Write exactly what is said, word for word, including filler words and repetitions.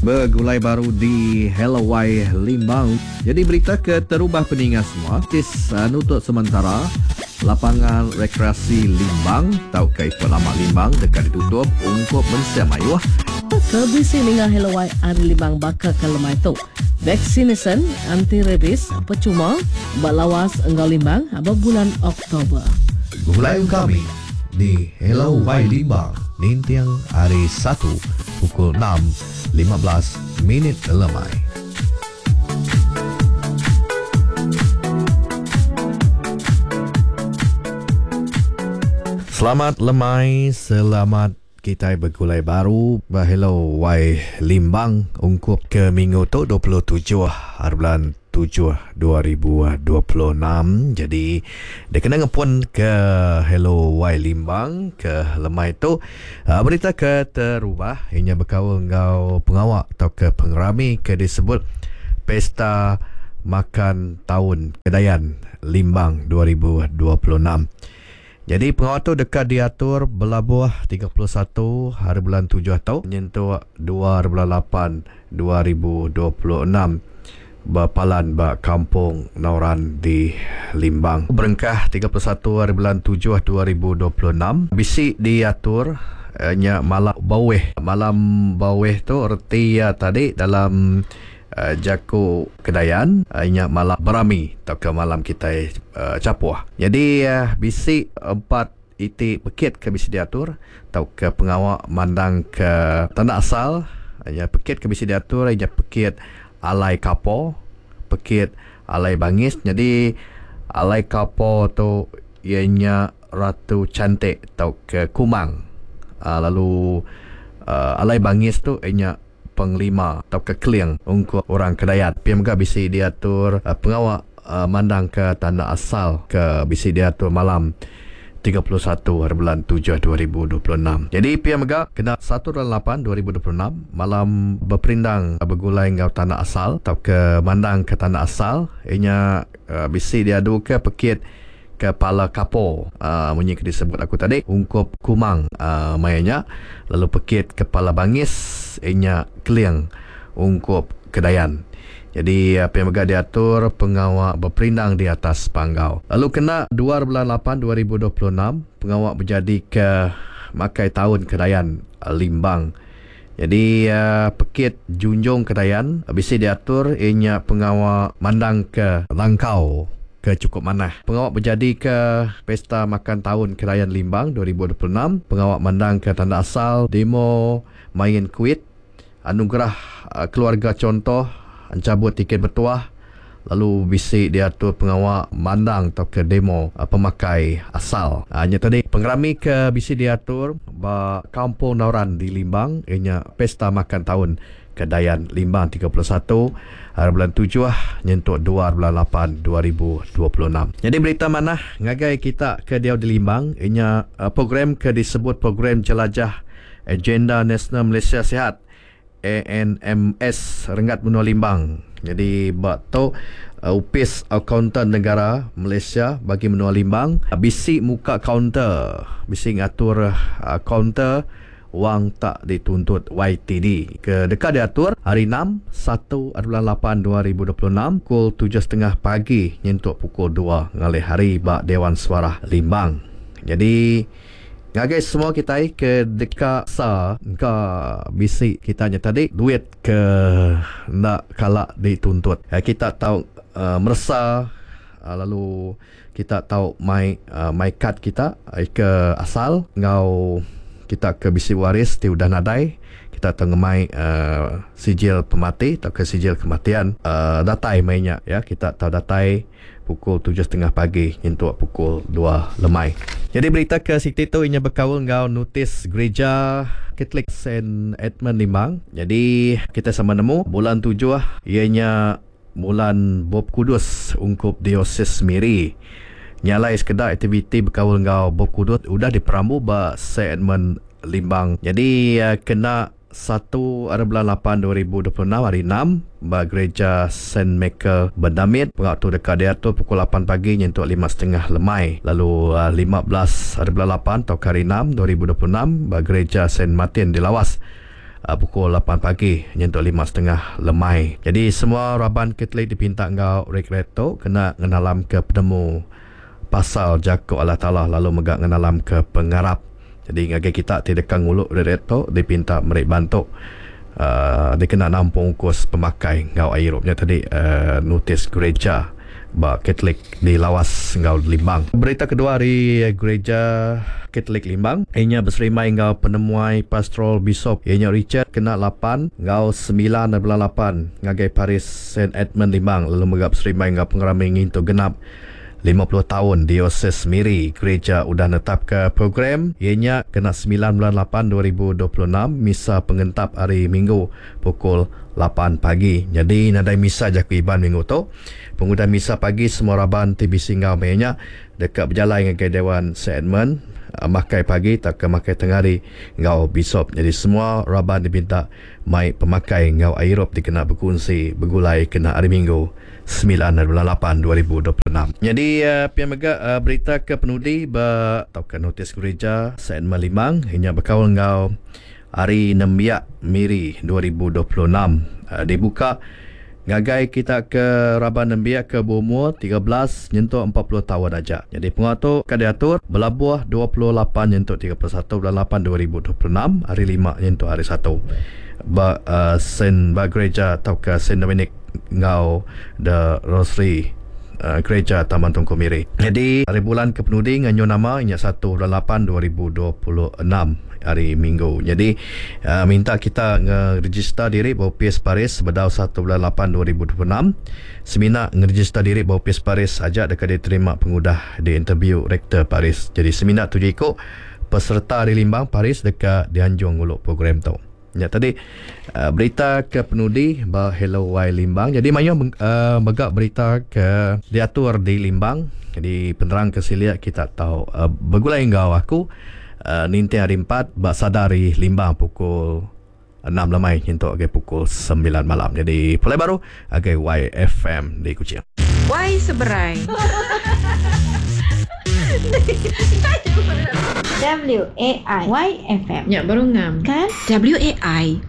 Begulai baru di Hello Wai Limbang. Jadi berita ke terubah peninga semua tis uh, nutut sementara lapangan rekreasi Limbang tau ke Ipuk Lama Limbang dekat ditutup ungkup mensia mayuh. Ke bisi ninga Hello Wai ari Limbang baka ke lemai tu. Vaccination anti rabies percuma ba Lawas enggau Limbang ba bulan Oktober. Begulai kami di Hello Wai Limbang ninting hari satu pukul enam lima belas minit lemai. Selamat lemai, selamat kita bergulai baru ba Hello Wai Limbang ungkup ke minggu tu dua puluh tujuh hari bulan tujuh dua ribu dua puluh enam. Jadi dia kena ngepun ke Hello Wai Limbang ke lemai tu berita ke terubah inya berkaul enggau pengawak atau ke pengerami ke disebut Pesta Makan Tahun Kedayan Limbang dua ribu dua puluh enam. Jadi pengawal tu dekat diatur belabuh tiga puluh satu hari bulan tujuh tu nyentuk dua hari bulan lapan dua ribu dua puluh enam berpalan ba Kampung Nauran di Limbang. Berengkah tiga puluh satu hari bulan tujuh dua ribu dua puluh enam bisi diatur eh, nya malam baweh. Malam baweh tu reti ya tadi dalam uh, jaku Kedayan uh, nya malam berami atau ke malam kita uh, capuh. Jadi uh, bisi empat iti pekit ke bisi diatur atau ke pengawak mandang ke tanda asal. Nya pekit ke bisi diatur nya pekit alai kapo, pekit alai bangis. Jadi alai kapo tu ianya ratu cantik atau ke kumang. Uh, lalu uh, alai bangis tu ianya penglima atau ke keling ungkup orang Kedayan. P M G bisi diatur uh, pengawak uh, mandang ke tanda asal ke bisi diatur malam tiga puluh satu hari bulan tujuh dua ribu dua puluh enam. Jadi P M G kena satu bulan lapan dua ribu dua puluh enam malam berperindang bergulai enggau tanda asal atau ke mandang ke tanda asal ianya uh, bisi diadu ke pekit kepala kapo uh, munyi ke disebut aku tadi ungkup kumang uh, mayanya, lalu pekit kepala bangis ianya keling ungkup Kedayan. Jadi apa yang mega diatur pengawak berperindang di atas panggau. Lalu kena dua bulan lapan dua ribu dua puluh enam pengawak berjadi ke makai tahun Kedayan Limbang. Jadi uh, pekit junjung Kedayan bisi diatur ianya pengawak mandang ke langkau ke cukup manah. Pengawak berjadi ke Pesta Makan Tahun Kedayan Limbang dua ribu dua puluh enam, pengawak mandang ke tanda asal, demo main kuit, anugerah uh, keluarga contoh, encabut tiket bertuah, lalu bisi diatur pengawak mandang atau ke demo uh, pemakai asal. Hanya uh, tadi pengerami ke bisi diatur ba Kampung Nauran di Limbang ianya Pesta Makan Tahun Kedayan Limbang tiga puluh satu hari bulan tujuh nyentuk dua bulan lapan dua ribu dua puluh enam. Jadi berita manah ngagai kita ke diau di Limbang ianya uh, program ke disebut program jelajah Agenda Nasional Malaysia Sihat A N M S Renggat Menua Limbang. Jadi bak tu uh, Upis Akauntan Negara Malaysia bagi Menua Limbang uh, bisi muka kaunter, bisi ngatur uh, kaunter wang tak dituntut Y T D ke dekat diatur hari enam satu bulan lapan dua ribu dua puluh enam pukul tujuh setengah pagi nyentuk pukul dua ngalih hari bak Dewan Suarah Limbang. Jadi ngagai semua kita ke dekat sa ke bisi kita nya tadi duit ke nak kalak dituntut. Kita tahu uh, meresa uh, lalu kita tahu my uh, my card kita ke asal ngau kita ke bisi waris ti udah nadai kita tengemai uh, sijil pemati atau ke sijil kematian uh, datai mainnya ya kita tahu datai pukul tujuh setengah pagi nyentuk pukul dua lemai. Jadi berita ke Siti tu inya berkaul enggau notis gereja Katolik Saint Edmund Limbang. Jadi kita sama nemu bulan tujuh ianya bulan Bob Kudus ungkup Diosis Miri. Nyalai sekedar aktiviti berkaul enggau Bob Kudus udah diperambu ba Saint Edmund Limbang. Jadi uh, kena satu hari bulan lapan dua ribu dua puluh enam hari enam ba gereja Saint Michael Bendamit. Pengawak tu dekat diatur pukul lapan pagi nyentuk lima setengah lemai. Lalu uh, lima belas hari bulan lapan atau hari enam dua ribu dua puluh enam ba gereja Saint Martin di Lawas. uh, pukul lapan pagi nyentuk lima setengah lemai. Jadi semua raban Katolik dipinta enggau retret tu kena ngenalam ke penemu pasal jaku Allah Taala lalu mega ngenalam ke pengarap. Jadi ngagai kita ti deka nguluk retret tu dipinta meri bantu uh, dikena nampung kos pemakai ngau air nya tadi uh, notis gereja ba Katolik di Lawas ngau Limbang. Berita kedua hari gereja Katolik Limbang ianya berserimai ngau penemuai pastoral Bishop ianya Richard kena lapan ngau sembilan bulan lapan ngagai Paris Saint Edmund Limbang lalu mega berserimai ngau pengerami ngintu genap lima puluh tahun Dioses Miri. Gereja udah netap ke program ianya kena sembilan bulan lapan dua ribu dua puluh enam misa pengentap hari Minggu pukul lapan pagi. Jadi nadai misa jaku Iban minggu tu. Pengudah misa pagi semua raban T B C ngau nya dekat berjalan ngagai Dewan Saint Edmund makai pagi tak ke makai tengah hari ngau Bishop. Jadi semua raban dipinta mai pemakai ngau airop dikena berkongsi bergulai kena hari Minggu sembilan bulan lapan dua ribu dua puluh enam. Jadi uh, pia mega uh, berita ke penudi ba atau ke notis gereja Saint Edmund Limbang inya berkaul ngau Hari Nembiak Miri dua ribu dua puluh enam uh, dibuka ngagai kita ke raban nembiak ke berumur tiga belas nyentuk empat puluh tahun aja. Jadi pengatur ka diatur belabuh dua puluh lapan nyentuk tiga puluh satu bulan lapan dua ribu dua puluh enam hari lima nyentuk hari satu. Ba uh, Saint ba gereja atau ke Saint Dominic ngau The Rosary uh, gereja Taman Tungku Miri. Jadi hari bulan ke penudi nganyo nama inya satu bulan lapan dua ribu dua puluh enam hari Minggu. Jadi uh, minta kita ngeregister diri ba P S Paris sebedau satu bulan lapan dua ribu dua puluh enam. Semina ngeregister diri ba P S Paris aja dekat diterima pengudah di interview Rektor Paris. Jadi semina tujuh ikut peserta di Limbang Paris dekat dianjung nguluk program tu. Ya tadi uh, berita ke penudi ba Hello Y Limbang. Jadi mayu uh, megak berita ke diatur di Limbang. Jadi penerang ke silia kita tahu uh, bergulai ngau aku uh, ninti hari empat ba sadari Limbang pukul enam lemai nyentuk ke pukul sembilan malam. Jadi pulai baru agai Y F M di Kuching. Y seberai. W A I Y F M. Ya baru ngam. Kan? W A I